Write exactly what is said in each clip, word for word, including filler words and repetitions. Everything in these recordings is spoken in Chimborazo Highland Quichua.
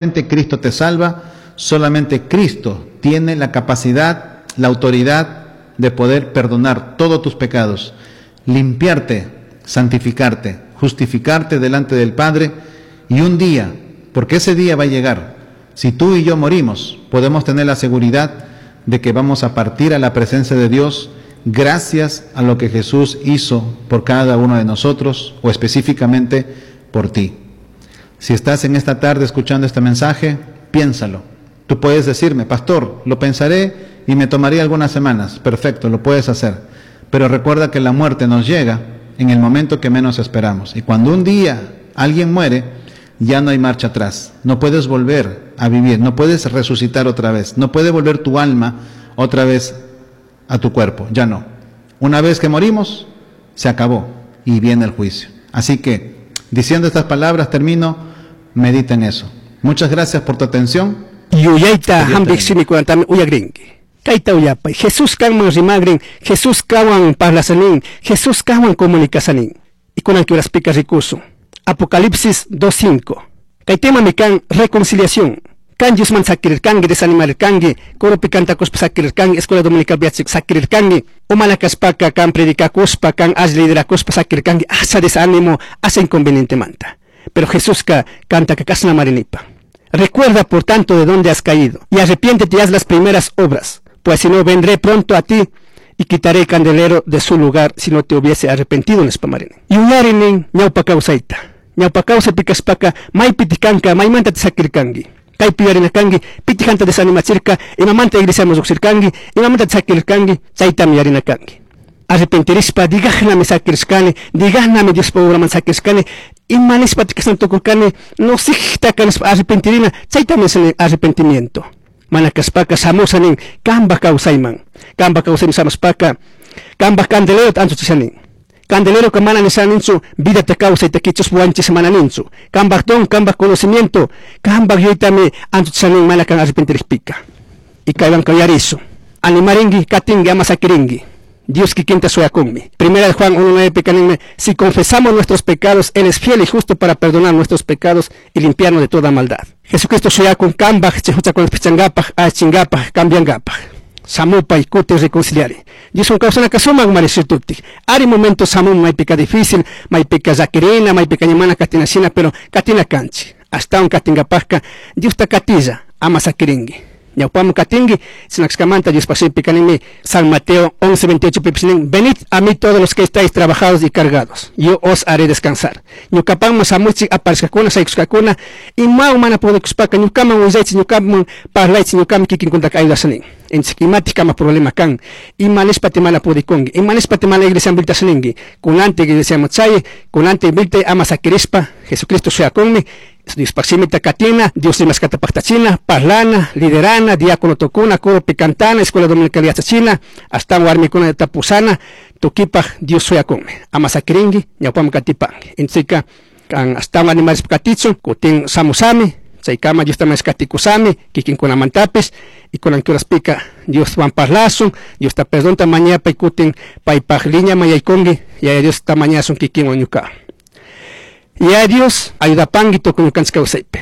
Cristo te salva, solamente Cristo tiene la capacidad, la autoridad de poder perdonar todos tus pecados, limpiarte, santificarte, justificarte delante del Padre y un día, porque ese día va a llegar, si tú y yo morimos, podemos tener la seguridad de que vamos a partir a la presencia de Dios gracias a lo que Jesús hizo por cada uno de nosotros o específicamente por ti. Si estás en esta tarde escuchando este mensaje, piénsalo. Tú puedes decirme, pastor, lo pensaré y me tomaría algunas semanas. Perfecto, lo puedes hacer. Pero recuerda que la muerte nos llega en el momento que menos esperamos. Y cuando un día alguien muere, ya no hay marcha atrás. No puedes volver a vivir, no puedes resucitar otra vez, no puede volver tu alma otra vez a tu cuerpo, ya no. Una vez que morimos, se acabó y viene el juicio. Así que, diciendo estas palabras, termino, medita en eso. Muchas gracias por tu atención. Yuyayta hambik shimikunatami uyagrinki. Kayta uyapay. Jesús kanman rimagrin, Jesús kanwan parlasanin, Jesús kanwan comunicasanin. Y kunan horaspika rikusun. Apocalipsis dos cinco. Kay tema mi kan reconciliación. Kan Diosman sakirirkanki, desanimarirkanki, coropi cantakuspa sakirirkanki, escuela dominical viachik sakirirkanki, o mana kaspaka kan predicakuspa, kan alli liderakuspa sakirirkanki, asa desánimo, asa inconveniente manta. Pero Jesús ka canta que kasna marinipa. Recuerda por tanto de dónde has caído y arrepiéntete y haz las primeras obras, pues si no vendré pronto a ti y quitaré el candelero de su lugar si no te hubiese arrepentido en espamarene. Y uyarinen ñawpa kawsayta. Ñawpa kawsay pikaspaka maypi tikanka, maymanta te sakirkanki. Kaypi yarinakanki, pitijanta desanimachirka, imamanta iglesiaman lluqshirkanki, imamanta te sakirkanki, chaytami yarinakanki. Arrepentirispa, digahnami sakirishkani, digahnami Diospa obraman sakirishkani, ima nishpa tikashan tukurkani, no sijta kanispa arrepentirina, chaytami es arrepentimiento. Mana kaspaka shamushanin, kamba kawsayman, kamba kawsayman shamushpaka, kamba candelero anchuchishanin. Candelero ka mana nishaninchu, vida te kawsay te kichus wanchis mana ninchu. Kamba don, kamba conocimiento, kamba yuytami anchuchishanin mana kan arrepentirishpika. Y kaywan kayarisu. Animaringi, katingi, ama sakiringi. Dios kikinta suyakunmi. Primera de Juan uno nueve pecaninme, si confesamos nuestros pecados, Él es fiel y justo para perdonar nuestros pecados y limpiarnos de toda maldad. Jesucristo suyakun kambaj, chehuchakun pichangapaj, achingapaj, cambiangapaj. Samupa y kute reconciliare. Dios un causa kasuma marisituti. Ari momento samu maypika difícil, maypika zakirina, maypika ñamana katina sina, pero katina kanchi. Hasta un katingapajka, Dios ta katiza, ama sakiringi. Ñawpamu katingi, sinaxkamanta Dios pasipi kanimi, San Mateo once veintiocho pipsinin, venid a mí todos los que estáis trabajados y cargados, yo os haré descansar. Ñukapanma samuchi aparezcakuna, saikuskakuna, ima humana podekuspaka, ñukaman willaychi, ñukaman parlaychi, ñukaman kikinkuntaka ayudasanin. Entonces, imati kama problema kan, ima nispa te mana podikongi, ima nispa te mana iglesia viltasaningi, kunante iglesia mochaye, kunante vilte ama sakirispa, Jesucristo sea conmi, Dios paximita katina, Dios rimaskata paktachina, parlana, liderana, diácono tocuna, coro picantana, escuela dominical yachachina, hasta warmikuna tapusana, tukipaj, Dios suya conmi, ama sakiringi, ñawpam katipangi. Entonces, kan hasta animales katichu, kutin samusami, chaykama Dios también katikusami, kikinkunamantapis, y con anquioras pica, Dios van parlasun, Dios ta perdón ta mañapa y kutin paypaj liña mayaykongi, y a Dios ta mañasun kikin oñuka. Y a Dios ayuda panguito con ñukanchik kawsaypi.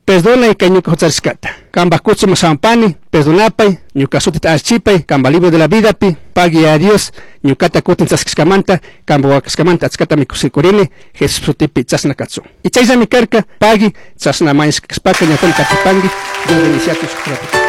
Perdona y kay ñuka hucharishkata. Kamba kuchu masampani, perdonapay, ñuka sutita archipay, kamba libro de la vida pi, pagui a Dios, ñukata kutin chaskishkamanta, kamba wakashkamanta achkata mikushikurini, Jesús sutipi chasna katsun. Y chayllami karka, pagui, chasna mañashkashpaka, ñakon katipangui, Dios bendicia a tus.